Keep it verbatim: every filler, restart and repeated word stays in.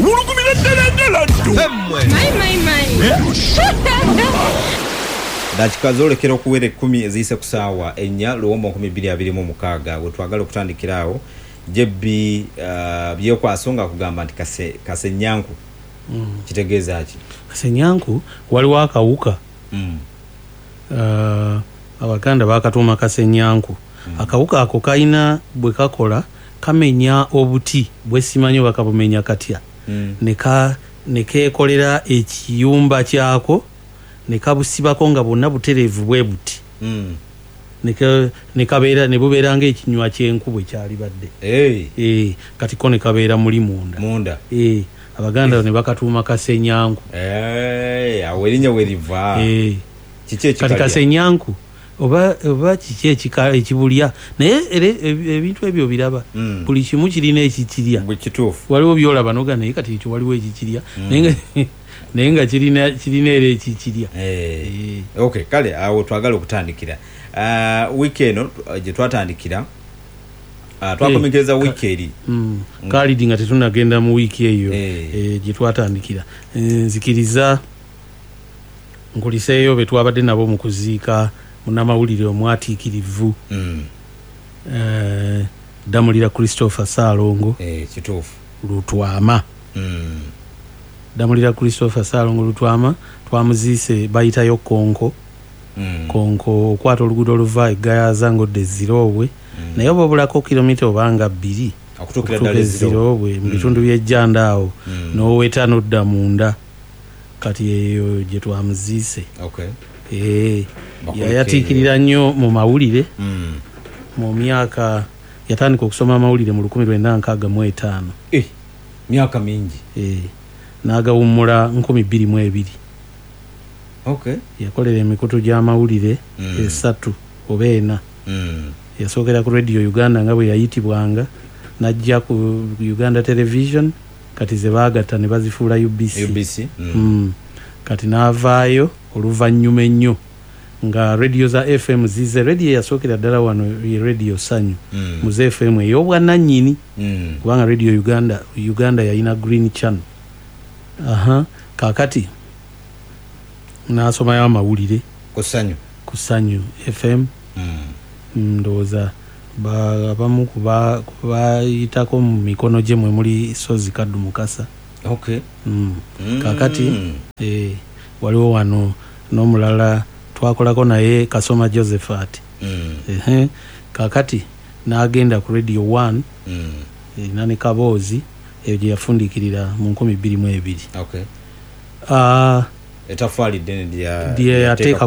Wulugumira ddala ddala ddo. My, my, my. Dakika zoolekera okuwera ekkumi eziyise ku saawa ennya luwombo nkumi bbiri abiri mu mukaaga. We twagala okutandikira awo, J B uh, Byekwaso nga kugamba nti kase kasenyanku kitegeeza ki? Kasenyanku, waliwo akawuka. Mm. uh, abaganda bakatuuma kasenyanku. Akawuka ako kalina bwe kakola, kamenya obuti bwesimanyi oba kabumenya katya, Mm. ne ka- ne keekolera ekiyumba kyako ne kabusibako nga bwonna butereevu bwe buti, Mm. ne ka- ne kabeera ne bubeera ng'ekinywa ky'enku bwe kyalibadde. Hey, Eh, kati ko ne kabeera muli munda. Munda. Eh, abaganda ne bakatuuma kasenyanku. Hey, awo erinnya we liva. Eh, kiki kati ekikalya? Kasenyanku oba oba kiki ekika ekibulya, naye era ebi- ebintu ebyo biraba, Mm. buli kimu kirina ekikirya. Bwe kituufu. Waliwo byolaba noga naye kati ekyo waliwo ekikirya, naye nga- naye nga kirina kirina era ekikirya. Eh. Eh. Okay, kale awo twagala okutandikira. uh, wiiki eno uh, gye twatandikira, uh, twakomekkereza Eh, wiiki eri. Mm. Khalid, nga tetunagenda mu wiiki eyo Eh. eh, gye twatandikira, Eh, nzikiriza nkuliseeyo be twabadde nabo mu kuziika munnamawulire omwatiikirivu, Mm. eh, Ddamulira Christopher Saalongo Eh, kituufu. Lutwama. Mm. Ddamulira Christopher Saalongo Lutwama twamuziise bayitayo Konko. Mm. Konko, okwata oluguudo oluva egayaza ng'odda eziroobwe, naye oba obulako kilomita obanga bbiri okutuukira okutuuka ddala eziro. Eziroobwe mu bitundu by'ejjanda awo, Mm. n'oweta n'odda munda. Kati eyo gye twamuziise. Okay. Eh, Bakulike. Yayatiikirira nnyo mu mawulire Mm. mu myaka, yatandika okusoma amawulire mu lukumi lwenda nkaaga mu etaano. Eh, myaka mingi. Eh, n'agawummula nkumi bbiri mu ebiri. Okay. Yakolera emikutu gy'amawulire Mm. esatu oba ena. Mm. Yasookera ku Radio Uganda nga bwe yayitibwanga, najja ku Uganda Television, kati ze baagatta ne bazifuula U B C. U B C. Mm. Mm. Kati n'avaayo oluvannyuma ennyo nga radio za F M zize. Radio yasookera ddala wano ye Radio Sanyu, Mm. mu za F M ey'obwannannyini, Mm. kubanga Radio Uganda, Uganda yalina Green Channel. Aha, kaakati n'asomayo amawulire ku Ssanyu. Ku Sanyu F M. Mm. Ndowooza ba- abamu kuba- kubayitako mu mikono gye mwe muli Sozi Kaddu Mukasa. Okay. mm. Mm. Kakati eh, waliwo wano n'omulala twakolako naye, Kasoma Josephat. Mm. Ehe, kakati n'agenda ku Radio one, Mm. erina ne kaboozi eyo gye yafundikirira mu nkumi bbiri mu ebiri. Okay. Ah, etafaali ddene lya lye yateeka ku